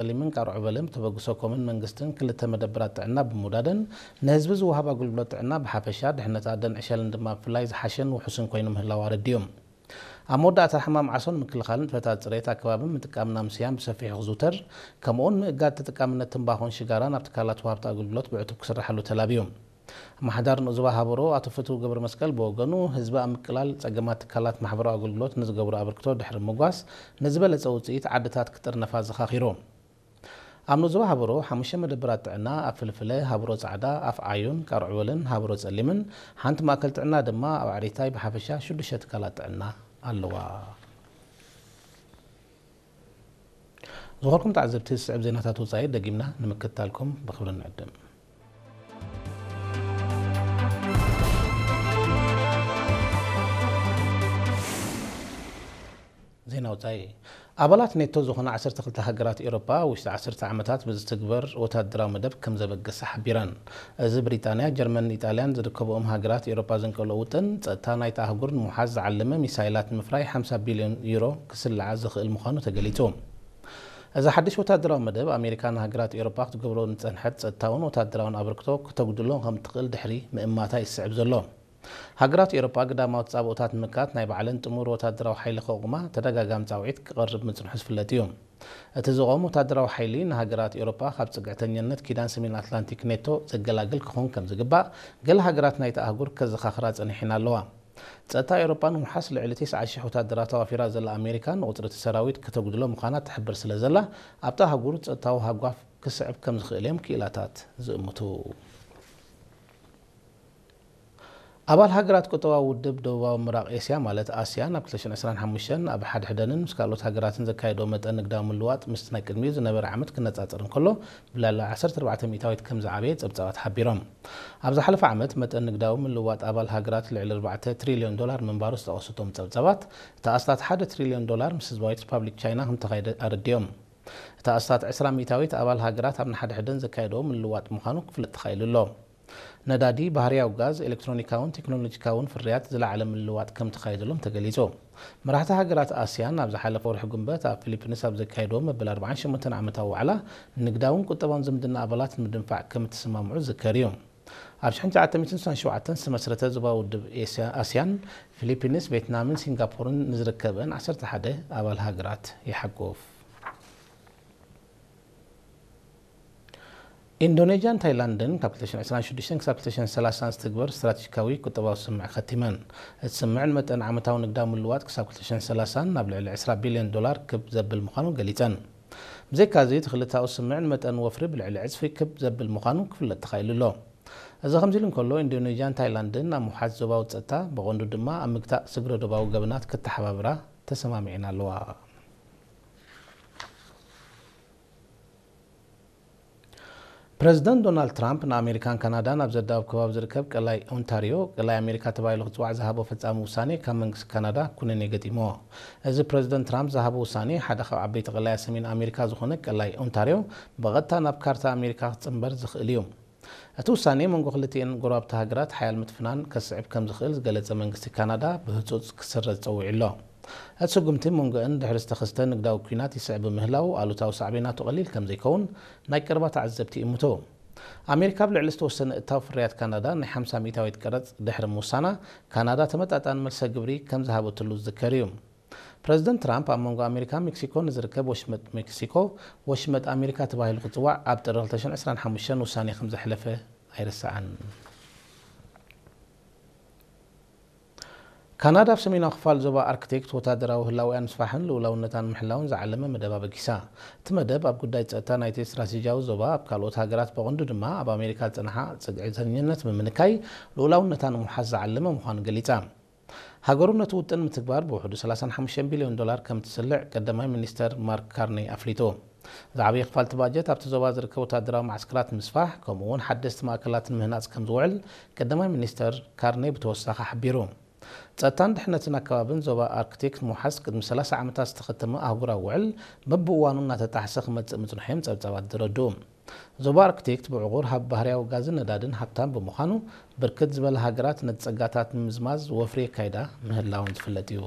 ጸሊምን ቃርዑ በልን ብተበግሶ ኮምን መንግስትን ክልተ መደብራት ጥዕና ብምውዳደን ንህዝቢ ዝወሃብ ኣገልግሎት ጥዕና ብሓፈሻ ድሕነት ኣደን ዕሸልን ድማ ብፍላይ ዝሓሸን ውሑስን ኮይኑ ምህላው ኣረዲኦም። ኣብ መወዳእታ ሕማም ዓሶ ንምክልኻልን ንጥፈታት ጽሬት ኣከባብን ምጥቃም ናምስያን ብሰፊሑ ክዝውተር፣ ከምኡውን ምእጋድ ተጠቃምነት ትንባኾን ሽጋራን ኣብ ትካላት ወሃብቲ ኣገልግሎት ብዕቱብ ክስራሓሉ ተላብዩ። ኣመሓዳሪ ንኡስ ዞባ ሃበሮ ኣቶ ፍትው ገብረ መስቀል ብወገኑ፣ ህዝቢ ኣብ ምቅላል ጸገማት ትካላት ማሕበራዊ ኣገልግሎት ንዝገብሮ ኣበርክቶ ድሕሪ ምጓስ፣ ንዝበለጸ ውጽኢት ዓድታት ክጥርነፋ ኣዘኻኺሩ። ኣብ ንኡስ ዞባ ሃበሮ ሓሙሽተ መደብራት ጥዕና ኣብ ፍልፍለ፣ ሃበሮ ጻዕዳ፣ ኣፍ ዓዩን፣ ቃርዑበልን ሃበሮ ጸሊምን፣ ሓንቲ ማእከል ጥዕና ድማ ኣብ ዓሪታይ ብሓፈሻ ሽዱሽተ ትካላት ጥዕና ኣለዋ። ዝኾርኩም ተዓዘብቲ፣ ዝስዕብ ዜናታት ወጻኢ ደጊምና ንምክትታልኩም ብኽብሪ ንዕድም። ዜና ወጻኢ። ኣባላት ኔቶ ዝኾና ዓሰርተ ክልተ ሃገራት ኤውሮጳ ውሽጢ ዓሰርተ ዓመታት ብዝትግበር ወታደራዊ መደብ ከም ዘበገሳ ሓቢረን። እዚ ብሪጣንያ፣ ጀርመንን ኢጣልያን ዝርከብኦም ሃገራት ኤውሮጳ ዘንቀልኦ ውጥን፣ ጸጥታ ናይታ ኣህጉር ንምውሓስ ዝዓለመ ሚሳይላት ንምፍራይ ሓምሳ ቢልዮን ዩሮ ክስልዓ ዝኽእል ምዃኑ ተገሊጹ። እዚ ሓድሽ ወታደራዊ መደብ፣ ኣሜሪካ ንሃገራት ኤውሮጳ ክትገብሮ ንጸንሐት ጸጥታውን ወታደራውን ኣበርክቶ ክተጉድሎ ከም ትኽእል ድሕሪ ምእማታ ይስዕብ ዘሎ። ሃገራት ኤውሮጳ ግዳማዊ ተጻብኦታት ንምክታት ናይ ባዕለን ጥሙር ወታደራዊ ሓይሊ ከቑማ ተደጋጋሚ ጻውዒት ክቐርብ ምጽንሑ ዝፍለጥ እዩ። እቲ ዝቖም ወታደራዊ ሓይሊ ንሃገራት ኤውሮጳ ካብ ጽግዕተኛነት ኪዳን ሰሜን ኣትላንቲክ ኔቶ ዘገላግል ክኾን ከም ዝግባእ ገለ ሃገራት ናይቲ ኣህጉር ከዘኻኽራ ጸኒሐን ኣለዋ። ጸጥታ ኤውሮጳ ንምውሓስ ልዕሊ ተስዓ ሽሕ ወታደራት ኣዋፊራ ዘላ ኣሜሪካ ንቑጽሪ እቲ ሰራዊት ከተጉድሎ ምዃና ትሕብር ስለ ዘላ ኣብታ ኣህጉር ጸጥታዊ ሃጓፍ ክስዕብ ከም ዝኽእል እዮም ክኢላታት ዝእምቱ። ኣባል ሃገራት ቁጠባዊ ውድብ ደቡባዊ ምብራቕ ኤስያ ማለት ኣስያን ኣብ ክልተ ሽሕን ዕስራን ሓሙሽተን ኣብ ሓድሕደንን ምስ ካልኦት ሃገራትን ዘካየዶ መጠን ንግዳዊ ምልዋጥ ምስቲ ናይ ቅድሚኡ ዝነበረ ዓመት ክነጻጸር እንከሎ ብልዕሊ ዓሰርተ ኣርባዕተ ሚእታዊት ከም ዝዓበየ ጸብጻባት ሓቢሮም። ኣብ ዝሓለፈ ዓመት መጠን ንግዳዊ ምልዋጥ ኣባል ሃገራት ልዕሊ ኣርባዕተ ትሪልዮን ዶላር ምንባሩ ዝጠቐሱ እቶም ጸብጻባት፣ እቲ ኣስታት ሓደ ትሪልዮን ዶላር ምስ ህዝባዊት ሪፓብሊክ ቻይና ከም ተኻየደ ኣረዲኦም። እቲ ኣስታት ዕስራ ሚእታዊት ኣባል ሃገራት ኣብ ንሓድሕደን ዘካየድኦ ምልዋጥ ምዃኑ ክፍለጥ ተኻኢሉ ኣሎ። ነዳዲ፣ ባህርያዊ ጋዝ፣ ኤሌክትሮኒካውን ቴክኖሎጂካውን ፍርያት ዝለዓለ ምልዋጥ ከም ተኻየደሎም ተገሊጹ። መራሕቲ ሃገራት ኣስያን ኣብ ዝሓለፈ ወርሒ ጉንበት ኣብ ፊሊፒንስ ኣብ ዘካየድዎ መበል ኣርባዓን ሸሞንተን ዓመታዊ ዋዕላ ንግዳውን ቁጠባውን ዝምድና ኣባላት ንምድንፋዕ ከም እተሰማምዑ ዝዝከር እዩ። ኣብ ሽሕን ትሽዓተ ሚእትን ስሳን ሸውዓተን ዝተመስረተ ዞባዊ ውድብ ኤስያ-፣ ኣስያን፣ ፊሊፒንስ፣ ቬትናምን ሲንጋፖርን ንዝርከበን ዓሰርተ ሓደ ኣባል ሃገራት ይሓቁፍ። ኢንዶኔዥያን ታይላንድን ካብ ክልተ ሽሕን ዕስራን ሽዱሽተን ክሳብ ክልተ ሽሕን ሰላሳን ዝትግበር ስትራቴጂካዊ ቁጠባዊ ስምምዕ ከቲመን። እቲ ስምምዕ ንመጠን ዓመታዊ ንግዳዊ ምልዋጥ ክሳብ ክልተ ሽሕን ሰላሳን ናብ ልዕሊ ዕስራ ቢልዮን ዶላር ክብ ዘብል ምዃኑ ገሊጸን። ብዘይካዚ፣ እቲ ክልተኣዊ ስምምዕ ንመጠን ወፍሪ ብልዕሊ ዕጽፊ ክብ ዘብል ምዃኑ ክፍለጥ ተኻኢሉ ኣሎ። እዚ ከምዚ ኢሉ እንከሎ፣ ኢንዶኔዥያን ታይላንድን ኣብ ምውሓስ ዞባዊ ጸጥታ፣ ብቐንዱ ድማ ኣብ ምግታእ ስግረ ዶባዊ ገበናት ክተሓባብራ ተሰማሚዐን ኣለዋ። ፕረዚደንት ዶናልድ ትራምፕ ንኣሜሪካን ካናዳን ኣብ ዘዳወብ ከባቢ ዝርከብ ቀላይ ኦንታርዮ፣ ቀላይ ኣሜሪካ ተባሂሉ ክጽዋዕ ዝሃቦ ፈጻሚ ውሳኔ ካብ መንግስቲ ካናዳ ኩነኔ ገጢምዎ። እዚ ፕረዚደንት ትራምፕ ዝሃቦ ውሳኔ፣ ሓደ ካብ ዓበይቲ ቀላያት ሰሜን ኣሜሪካ ዝኾነ ቀላይ ኦንታርዮ ብቐጥታ ናብ ካርታ ኣሜሪካ ክጽንበር ዝኽእል እዩ። እቲ ውሳኔ መንጎ ክልቲኤን ጎረባብቲ ሃገራት ሓያል ምትፍናን ከስዕብ ከም ዝኽእል ዝገለጸ መንግስቲ ካናዳ ብህጹጽ ክስረዝ ጸዊዑ ኣሎ። እቲ ስጉምቲ መንጎአን ድሕሪ ዝተኸስተ ንግዳዊ ኲናት ይስዕብ ብምህላው ኣሉታዊ ሳዕቤናቱ ቀሊል ከም ዘይከውን ናይ ቀረባ ተዓዘብቲ ይእምቱ። ኣሜሪካ ኣብ ልዕሊ ዝተወሰነ እታው ፍርያት ካናዳ ናይ ሓምሳ ሚእታዊት ቀረጽ ድሕሪ ምውሳና፣ ካናዳ ተመጣጣኒ መልሰ ግብሪ ከም ዝሃበትሉ ዝዝከር እዩ። ፕረዚደንት ትራምፕ ኣብ መንጎ ኣሜሪካን ሜክሲኮን ንዝርከብ ወሽመጥ ሜክሲኮ፣ ወሽመጥ ኣሜሪካ ተባሂሉ ክጽዋዕ ኣብ ጥሪ ክልተ ሽሕን ዕስራን ሓሙሽተን ውሳኔ ከም ዘሕለፈ ኣይርሳዕን። ካናዳ ኣብ ሰሜናዊ ክፋል ዞባ ኣርክቲክ ወታደራዊ ህላውያን ምስፋሕን ልኡላውነታን ምሕላውን ዝዓለመ መደብ ኣበጊሳ። እቲ መደብ ኣብ ጉዳይ ጸጥታ ናይቲ ስትራቴጂያዊ ዞባ፣ ኣብ ካልኦት ሃገራት ብቐንዱ ድማ ኣብ ኣሜሪካ ዝጸንሓ ጽግዕተኝነት ብምንካይ ልኡላውነታ ንምውሓስ ዝዓለመ ምዃኑ ገሊጻ። ሃገሩ ነቲ ውጥን ምትግባር ብውሕዱ ሰላሳን ሓሙሽተን ቢልዮን ዶላር ከም እትስልዕ ቀዳማይ ሚኒስተር ማርክ ካርኒ ኣፍሊጡ። ዝዓበየ ክፋል እቲ ባጀት ኣብቲ ዞባ ዝርከብ ወታደራዊ መዓስከራት ንምስፋሕ፣ ከምኡ እውን ሓደስቲ ማእከላት ንምህናጽ ከም ዝውዕል ቀዳማይ ሚኒስተር ካርኒ ብተወሳኺ ሓቢሩ። ጸጥታን ድሕነትን ኣከባብን ዞባ ኣርክቲክ ንምውሓስ ቅድሚ ሰላሳ ዓመታት ዝተኸተመ ኣህጉራዊ ውዕል በብእዋኑ እናተጣሕሰ ክመጽእ ምጽንሑ እዮም ጸብጻባት ዘረድኡ። ዞባ ኣርክቲክ ብዕቑር ሃብ ባህርያዊ ጋዝን ነዳድን ሃብታም ብምዃኑ፣ ብርክት ዝበላ ሃገራት ነቲ ጸጋታት ንምዝማዝ ወፍሪ የካይዳ ምህላወን ዝፍለጥ እዩ።